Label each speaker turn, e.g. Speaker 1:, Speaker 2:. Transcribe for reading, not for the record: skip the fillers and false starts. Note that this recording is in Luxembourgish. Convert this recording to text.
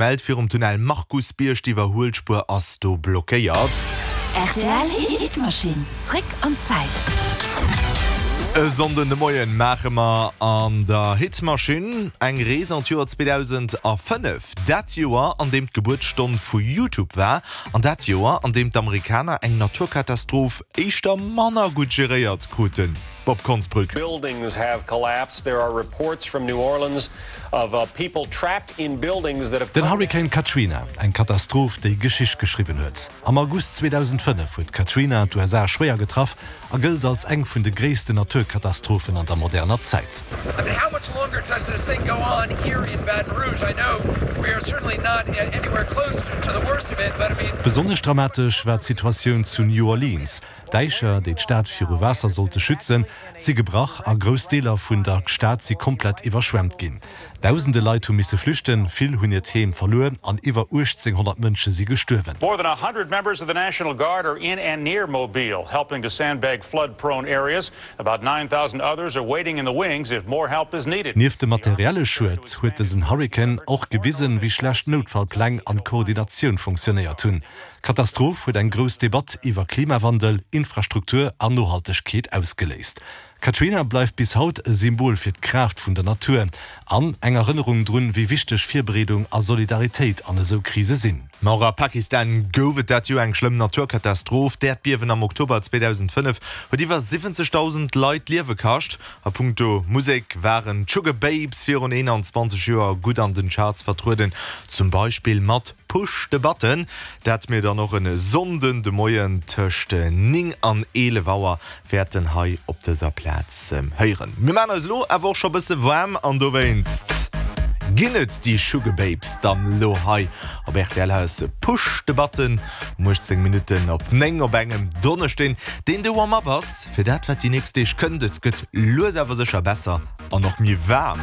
Speaker 1: Mellt virum Tunnel Markusbierg, d'Iwwerhuelspuer ass do blockéiert.
Speaker 2: Rtl Hitmachine, zréck an d'Zäit.
Speaker 1: E Sonnden de Moien maache mer an der Hitmachine eng Rees an d'Joer 2005. Dat Joer, an deem d'Gebuertsstonn vu YouTube war an dat Joer, an deem d'Amerikaner eng Naturkatastroph éischter manner gutt geréiert kruten. Bob Konsbrück.
Speaker 3: Buildings have collapsed. There are reports from New Orleans of people trapped in buildings that have.
Speaker 4: Den Hurrikan Katrina, eng Katastroph, déi Geschicht geschriwwen huet. Am August 2005 huet d'Katrina d'USA schwéier getraff a gëllt als eng vun de gréissten Naturkatastrophen an der moderner Zäit. Besonnesch dramatesch war d'Situatioun zu New Orleans. D'Däicher, déi d'Stad viru Waasser sollte schützen, si gebrach a grouss Deeler vun der Stad si komplett iwwerschwemmt ginn. Dausende Leit hu misse flüchten, vill hunn hiert Heem verluer an iwwer 1.800 Mënsche si gestuerwen.
Speaker 3: More than 100 members of the National Guard are in and near Mobile, helping to sandbag flood-prone areas. About 9,000 others are waiting in the wings if more help is needed.
Speaker 4: Nieft dem materielle Schued huet dësen Hurrikan och gewisen, wéi schlecht Noutfallpläng an d'Koordinatioun funktionéiert hunn. D'Katastroph huet eng grouss Debatt iwwer Klimawandel, Infrastruktur an Nohaltegkeet ausgeléist. Katrina bleift bis haut e Symbol fir d'Kraaft vun der Natur an eng Erënnerung drun, wéi wichteg Virbereedung a Solidaritéit an esou Krise sinn.
Speaker 1: Ma och a Pakistan gouf et dat Joer eng schlëmm Naturkatastroph. D'Äerdbiewen am Oktober 2005 huet iwwer 70.000 Leit d'Liewe kascht. A punkto Musek waren d'Sugar Babes virun 21 Joer gutt an den Charts vertrueden, zum Beispill mat Push de Button, dat mir dann och e Sonnden de Moien tëscht 9 an 11 Auer wäerten hei op dëser Plaz héieren. Mir maachen eis elo awer och scho bësse waarm an dowéinst ginn et déi Sugababes dann elo hei op rtl. Hei ass Push de Button um 18 Minutten op 9 op engem Donneschden, deen de Warm-up ass fir dat wat déi nächst Deeg kënnt. Et gëtt lues awer sécher besser an och méi waarm.